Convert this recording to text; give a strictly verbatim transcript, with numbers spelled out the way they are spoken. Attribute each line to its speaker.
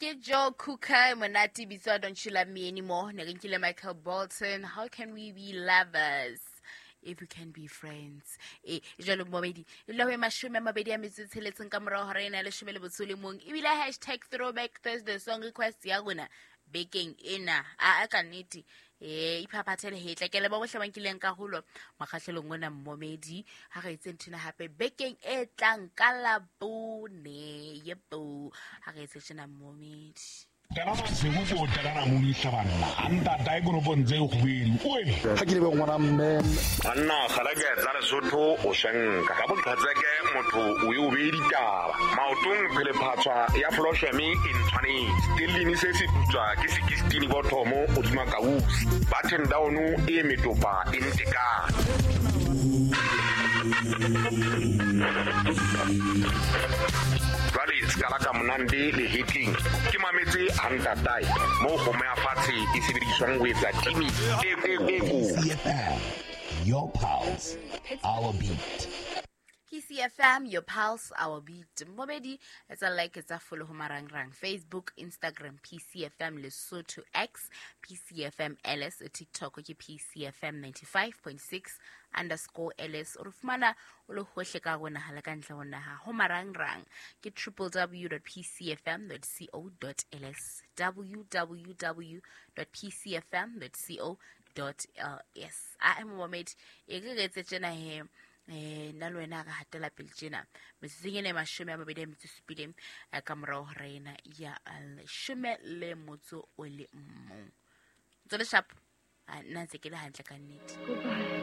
Speaker 1: Ke Joe Cooker monate bitswa Don't You Love Me Anymore. Ne re nkile Michael Bolton, How Can We Be Lovers If We Can Be Friends. E jwalo momedi e dula ho e mashome a mabedi a metso e tsheletseng ka morao hora ena ya leshome le botso le mong. Ebile hashtag throwback Thursday song request ya rona bekeng ena a a ka nnete e iphaphathele hetla ke leba bohle ba nkileng karolo mokgahlelong ona mmomedi. Ha re etse nthwena hape bekeng e tlang ka Labone. Yebo, ha re etse tjena mmomedi.
Speaker 2: Ha ke lebe ngwana mme
Speaker 3: Banna kgalake tsa Lesotho o shenka ka boqhetseke motho o e o bee ditaba maotong phelephatswa ya flosheme e ntshwanetse stellini se se putswa ke sekistini bothomo hodima kausi button down e metopa e ntekane. Jwale sekala ka monande le hetleng ke mametse hantatae moo kgomo ya fatshe e sebediswang ho etsa timi e e e ko.
Speaker 4: P C F M, your pulse, our beat.
Speaker 1: P C F M, your pulse, our beat. Mmobedi, etsa like, etsa follow ho marangrang. Facebook, Instagram, P C F M Lesotho X, P C F M L S, TikTok ke P C F M ninety-five point six underscore L S. O re fumana o le hohle ka rona ha le ka ntle ho naha. Ho marangrang ke triple w dot p c f m dot co dot l s, w w w dot p c f m dot co dot l s. A e momedi, e re re etse tjena he. Eh, nna le wena re hatela pele tjena metsotsong ena e mashome a mabedi a metso e supileng, eh, ka morao hora ena ya leshome le motso o le mong. Ntso le sharp? Ah, nna ntse ke le hantle ka nnete.
Speaker 5: Goodbye.